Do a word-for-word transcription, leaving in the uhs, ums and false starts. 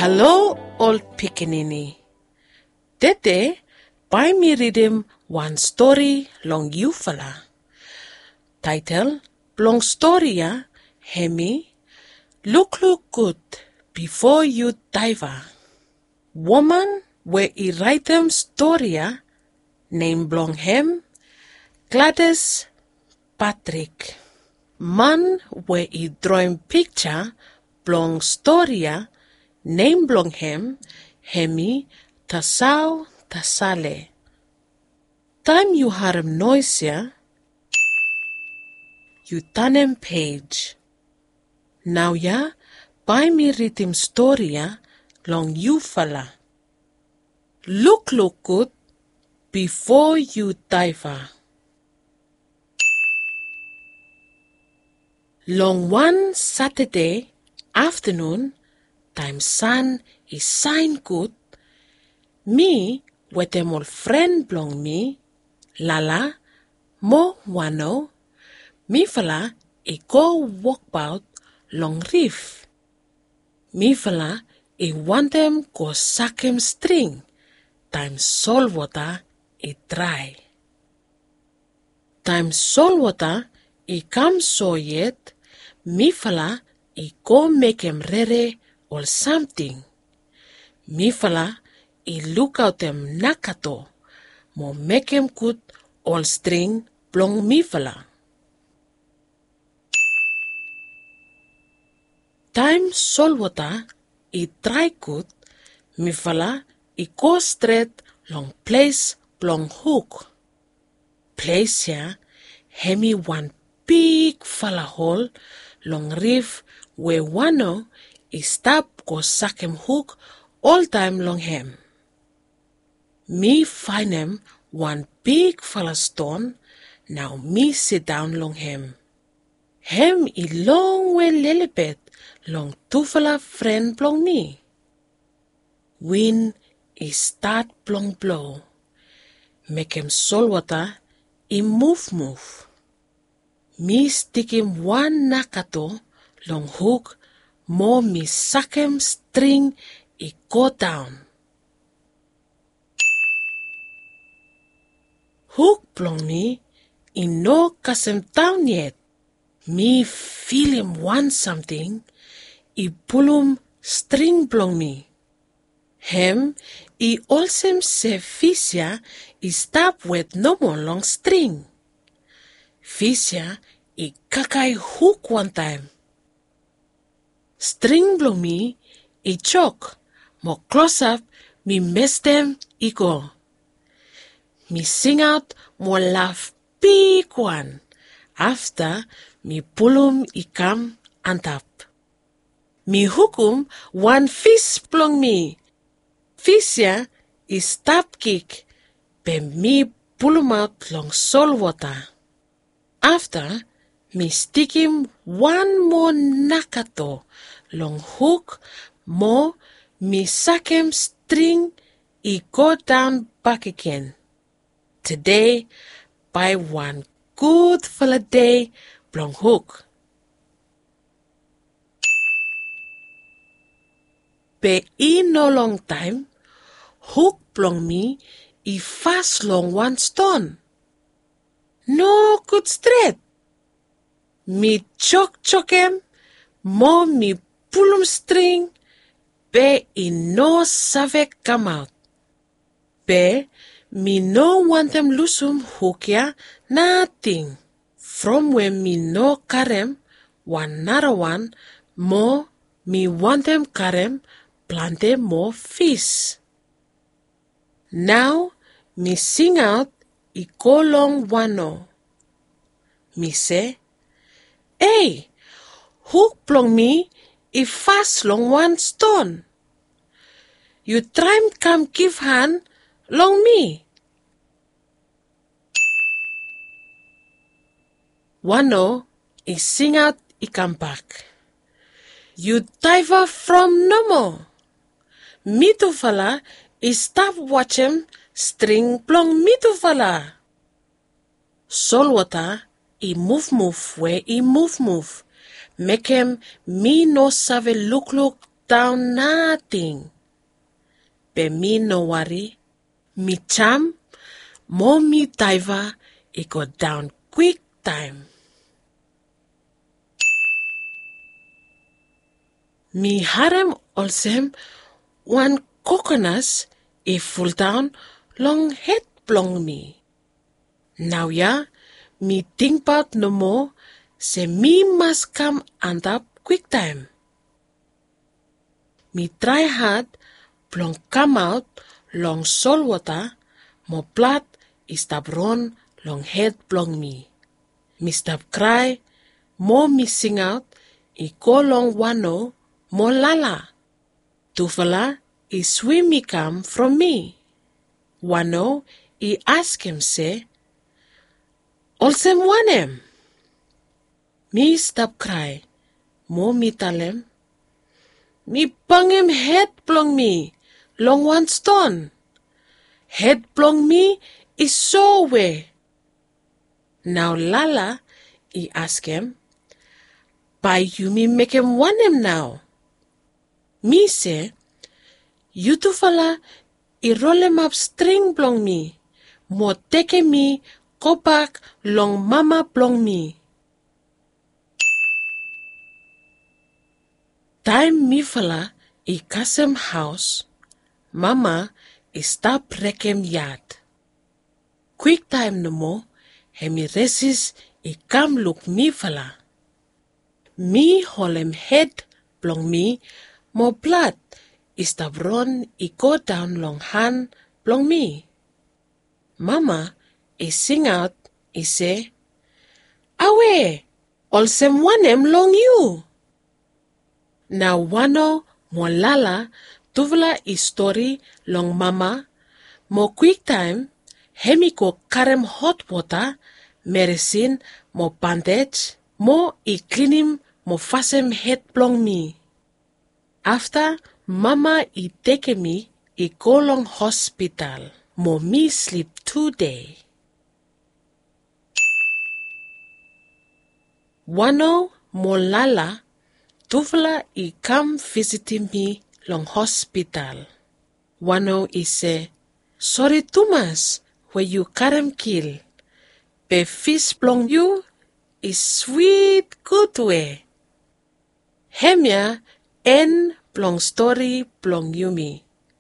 Halo ol pikinini. Tede bae mi ridim wan stori long yufala. Taetol blong stori ya hemi Lukluk Gud Bifo Yu Daeva. Woman we i raetem stori ya, nem blong hem Gladys Patrik. Man we i droem pikja blong stori ya, nem blong hem hemi Tasao Tasale. Taem yu harem noes ya, yu tanem pej. Naoia bae mi ridim stori ya long yufala. Lukluk Gud Bifo Yu Daeva. Long wan Satade aftanun, taem san i saen gud, mi wetem ol fren blong mi, Lala mo Wano, mifala i go wokbaot long rif. Mifala i wantem go sakem string taem solwota i drae. Taem solwota i kam so yet, mifala i go mekem rere ol samting. Mifala i lukaotem nakato mo mekem gud ol string blong mifala. Taem solwota i drae gud, mifala i go stret long ples blong huk. Ples ya hemi wan bigfala hol long rif we Wano i stap go sakem huk oltaem long hem. Mi faenem wan bigfala ston, nao mi sidaon long hem. Hem i longwe lelebet long tufala fren blong mi. Win i stat blong blo, mekem solwota i muvmuv. Mi stikim wan nakato long huk mo mi sakem string i godaon. Huk blong mi i no kasem daon yet. Mi filim wan samting i pulum string blong mi. Hem i olsem se fis ya i stap wet nomo long string. Fis ya i kakae huk wantaem. String blong mi i jok mo klosap mi mestem i go. Mi singaot mo laf bigwan. Afta mi pulum i kam antap. Mi hukum wan fis blong mi. Fis ya i stap kik, be mi pulumaot long solwota. Afta mi stikim wan moa nakato long huk mo mi sakem string i godaon bakegen. Tede bae wan gudfala dei blong huk. Be i no longtaem, huk blong mi i fas long wan ston. Nogud stret. Mi jokjokem mo mi pulum string, be i no save kamaot. Be mi no wantem lusum huk ya nating. From we mi no karem wan narawan mo mi wantem karem plante moa fis. Nao mi singaot i go long Wano. Mi se, "Ei, huk blong mi i fas long wan ston. Yu traem kam givhan long mi." Wano i singaot i kambak, "Yu daeva from nomo. Mitufala i stap wajem string blong mitufala." Solwota i muvmuv we i muvmuv, mekem mi no save lukluk daon nating. Be mi no wari, mi jam mo mi daeva i go daon kwiktaem. Mi harem olsem wan kokonas i fuldaon long hed blong mi. Naoia mi tingbaot nomo se mi mas kam antap kwiktaem. Mi trae had blong kamaot long solwota mo blad i stap ron long hed blong mi. Mi stap krae mo mi singaot i go long Wano mo Lala. Tufala i swim i kam from mi. Wano i askem se, "Olsem wanem?" Mi stap krae mo mi talem, "Mi bangem hed blong mi long wan ston. Hed blong mi i sowe." Nao Lala i askem, "Bae yumi mekem wanem nao?" Mi se, "Yutufala i rolemap string blong mi mo tekem mi gobak long mama blong mi." Taem mifala i kasem haos, mama i stap rekem yad. Kwiktaem nomo hem i resis i kam luk mifala. Mi holem hed blong mi mo blad i stap ron i godaon long han blong mi. Mama i singaot i se, "Awe, olsem wanem long yu?" Nao Wano mo Lala tufala i stori long mama, mo kwiktaem hem i go karem hotwota, meresin mo bandej mo i klinim mo fasem hed blong mi. Afta mama i tekem mi i go long hospital mo mi slip tu dei. Wano mo Lala tufala i kam visitim mi long hospital. Wano i se, "Sori tumas we yu karem kil, be fis blong yu i swit gud we." Hemia en blong stori blong yumi.